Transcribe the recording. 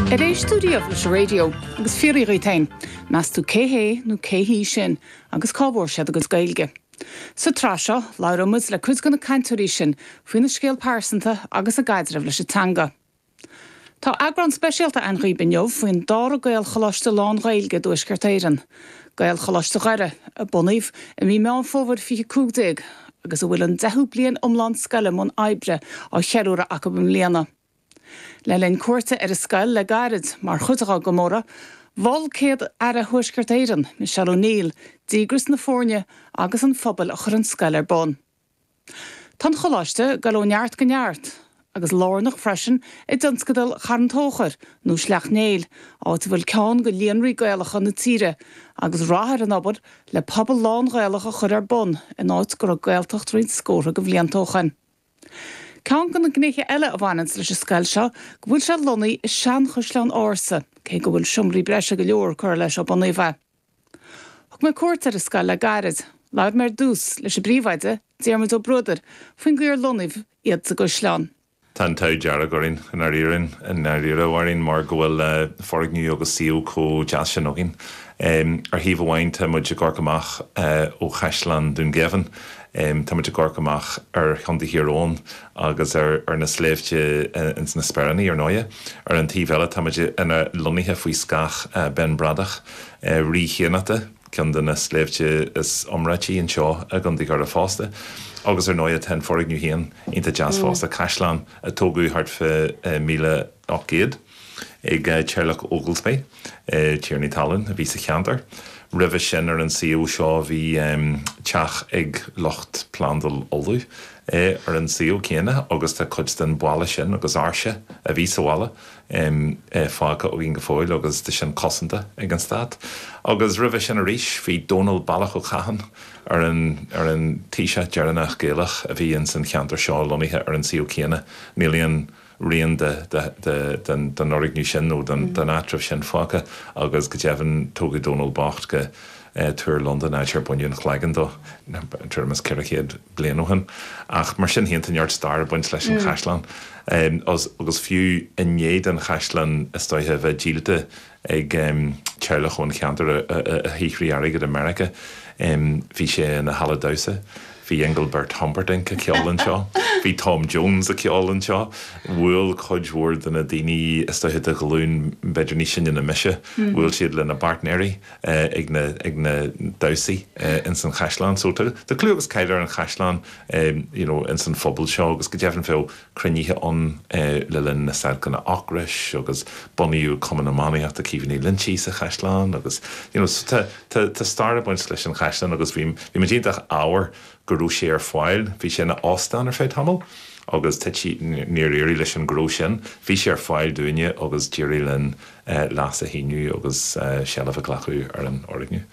Ar éist tú riamh leis an raidió agus fiafraigh dhíot féin, meas tú cé hé nó cé hí sin agus cá bhfuair siad a gcuid Gaeilge? Sa tsraith seo, labhróidh muid le cuid de na cainteoirí sin faoina scéal pearsanta agus a gcaidreamh leis an teanga. Tá eagrán speisialta againn dhaoib inniu faoin dara Gaelcholáiste lán-Ghaeilge i dTuaisceart Éireann, Gaelcholáiste Dhoire, a bunaíodh i mí Meán Fómhair 2015 agus a bhfuil an deichiú bliain iomlán scoile i mbun oibre á cheiliúradh acu i mbliana. Le linn cuairte ar an scoil le gairid mar chuid dá gcomóradh, mhol Céad-Aire Thuaisceart Éireann, Michelle O'Neill, díograis na foirne agus an phobail a chuir an scoil ar bun. Tá an Choláiste ag dul ó neart go neart, agus lárnach freisin i dtionscadal Charn Tóchair, nó Sleacht Néill, áit a bhfuil ceann de líonraí Gaelacha na tíre, agus rath ar an obair le pobal lán-Ghaelach a chur ar bun in áit go raibh Gaeltacht roinnt scórtha de bhlianta ó shoin. Ceann de na gnéithe eile a bhaineanns leis an scoil seo go bhfuil sé lonnaithe i seanchaisleán ársa, cé go bhfuil seomraí breise go leor curtha leis ó bunaíodh é. Thug mé cuairt ar an scoil le gairid. Labhair mé ar dtús leis an bpríomhoide, Diarmuid Ó Bruadair, faoin gcaoi ar lonnaíodh iad sa gcaisleán. Tá an t-ádh dearg orainn i ndáiríre, i ndáiríre, a Mháirín, mar go bhfuil foirgneamh agus suíomh chomh deas sin againn. Ar thaobh amháin tá muid ag amharc amach ó Chaisleán Dún Geimhin, tá muid ag amharc amach ar Chontae Thír Eoghain agus ar na sléibhte ins na Speiríní, ar ndóighe. Ar an taobh eile tá muid ina lonnaithe faoi scáth Bheann Bradach, Rí Chiannachta, ceann de na sléibhte is iomráití anseo i gContae Dhoire fosta. Agus ar ndóighe tá an foirgneamh féin iontach deas fosta, caisleán a tógadh thart fá 1800 ag teaghlach Oglesby, tiarnaí talún a bhí sa cheantar. Roimhe sin ar an suíomh seo bhí teach ag lucht Plandáil Uladh ar an suíomh céanna agus tá cuid den bhalla sin agus áirse a bhí sa bhalla fágtha againn go fóill agus tá sin cosanta ag an stát. Agus roimhe sin arís bhí Dónal Ballach Ó Catháin ar an ar an taoiseach deireanach Gaelach a bhí ins an cheantar seo lonnaithe ar an suíomh céanna. Níl aon rian de de den den fhoirgneamh sin nó den den áitreabh sin fágtha agus go deimhin tógadh Dónal bocht go Túr Londan, áit ar baineadh an chloigeann dó tuairim is 400 bliain ó shin. Ach mar sin féin, tá neart stair ag baint leis an chaisleán. Agus fiú i ndiaidh don chaisleán, is dóiche, a bheith díolta ag teaghlach ón cheantar a shaothraigh airgead i Meiriceá, bhí sé ina halla damhsa. Bhí Engelbert Humperdinck ag ceol anseo. Bhí Tom Jones ag ceol anseo. Bhuail cuid mhór de na daoine, is dóiche, de ghlúin b'fhéidir níos sine ná mise, bhuail siad lena bpáirtnéirí. ag na ag na damhsaí ins an chaisleán. So tá tá clú agus cáil ar an chaisleán you know ins an phobal seo agus go deimhin bheadh cruinnithe ann le linn na stailceanna ocrais agus bunaíodh Cumann Iománaíochta Caoimhe Ní Loinsigh sa chaisleán agus you know so tá tá tá stair ag baint leis an chaisleán agus bhí bhí muid iontach ádhmhar go raibh sé ar fáil. Bhí sé ina óstán ar feadh tamaill agus thit sé, níor éirigh leis an ghnó sin. Bhí sé ar fáil dúinne agus d'éirigh linn leas a shíniú agus seilbh a ghlacadh ar an fhoirgneamh.